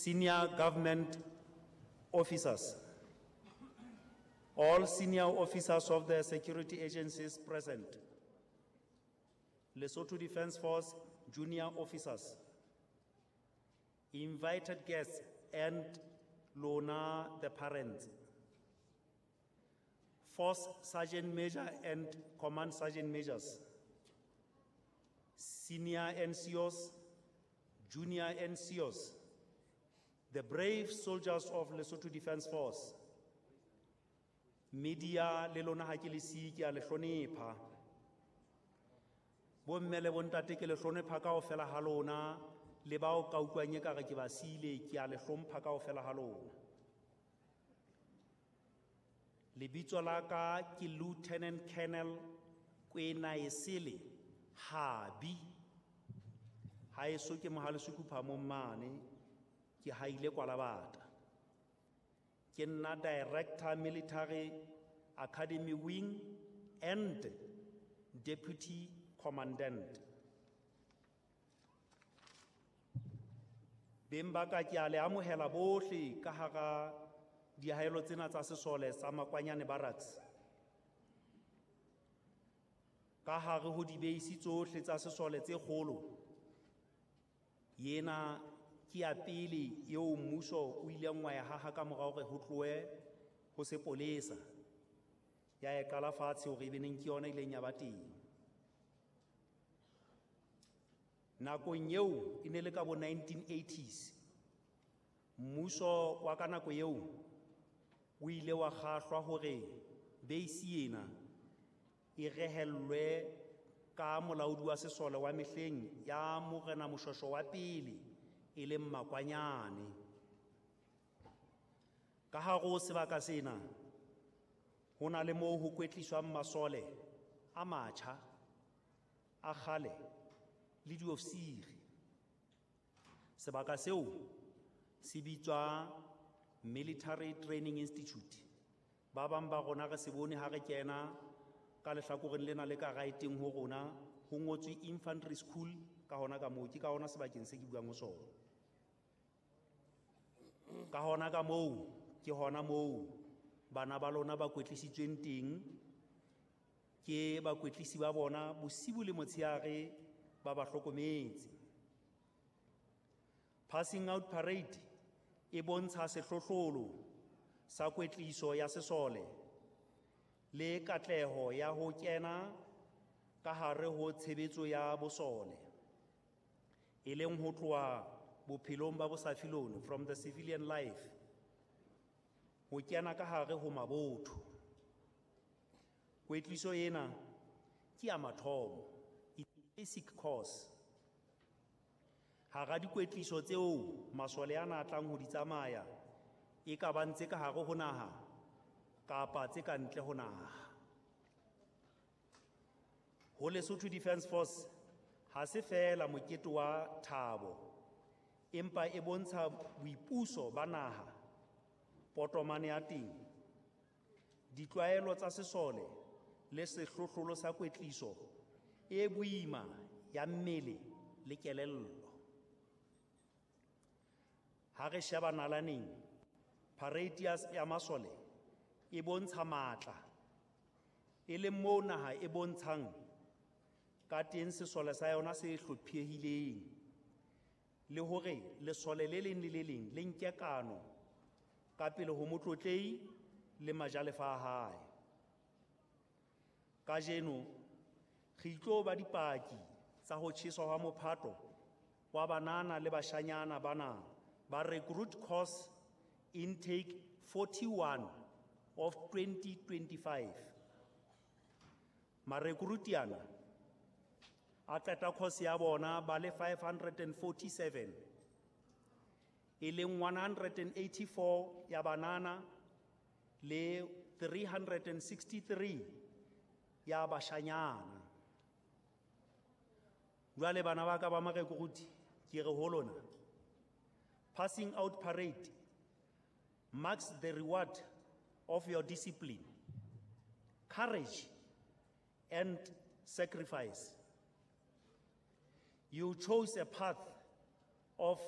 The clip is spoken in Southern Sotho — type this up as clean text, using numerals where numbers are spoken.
Senior government officers, all senior officers of the security agencies present, Lesotho Defence Force junior officers, invited guests and lona the parents, Force Sergeant Major and Command Sergeant Majors, senior NCOs, junior NCOs, the brave soldiers of Lesotho Defence Force, media le lona ha ke le siye ke a le hlonepha. Bomme le bontate ke le hlonepha kaofela ha lona, le bao ka utlwang ekare ke ba siile ke a le hlompha kaofela ha lona. Lebitso la ka ke Lieutenant Colonel Kwenaesele Habi. Haeso ke Mohale Sekupha mane, ke haile Kwalabata. Ke nna Director Military Academy Wing and Deputy Commandant. Beng ba ka ke a le amohela bohle ka hara diahelo tsena tsa sesole sa Makwanyane Barracks. Ka hare ho dibeisi tsohle tsa sesole tse kgolo, yena ke ya pele eo mmuso o ileng wa e haha ka mora hore ho tlohe ho sepolesa. Ya e qala fatshe hore e be neng ke yona e ileng ya ba teng. Nakong eo e ne le ka bo 1980s, mmuso wa ka nako eo o ile wa kgahlwa hore base ena e rehellwe ka molaodi wa sesole wa mehleng ya Morena Moshweshwe wa pele e leng Makwanyane. Ka hare ho sebaka sena ho na le moo ho kwetliswang masole a matjha, a kgale le diofisiri. Sebaka seo se bitswa Military Training Institute. Ba bang ba rona re se bone ha re kena ka lehlakoreng lena le ka right-eng ho rona, ho ngotswe Infantry School ka hona ka moo, ke ka hona sebakeng se ke buang ho sona. Ka hona ka moo, ke hona moo bana ba lona ba kwetlisitsweng teng, ke bakwetlisi ba bona bosibu le motshehare ba ba hlokometse. Passing out parade e bontsha sehlohlolo sa kwetliso ya sesole le katleho ya ho kena ka hare ho tshebetso ya bosole, e leng ho tloha bophelong ba bosafilone, from the civilian life, ho kena ka hare ho mabotho. Kwetliso ena ke ya mathomo, basic course. Hara dikwetliso tseo masole ana a tlang ho di tsamaya, e ka bang tse ka hare ho naha kapa tse ka ntle ho naha. Ho Lesotho Defence Force ha se feela mokete wa thabo, empa e bontsha boipuso ba naha, potomane ya teng, ditlwaelo tsa sesole le sehlohlolo sa kwetliso e boima ya mmele le kelello. Ha re sheba nalaneng, parade ya masole e bontsha matla, e leng moo naha e bontshang ka teng sesole sa yona se hlophehileng, le hore lesole le leng le le leng le nke kano ka pele ho motlotlehi le majalefa a hae. Kajeno re itlo ba dipaki tsa ho tjheswa hwa mophato wa banana le bashanyana bana ba recruit course intake 41 of 2025. Marekruti ana a qeta course ya bona ba le 547, e leng 184 ya banana le 363 ya bashanyana. Jwale bana ba ka ba marekruti, ke re ho lona, passing out parade marks the reward of your discipline, courage, and sacrifice. You chose a path of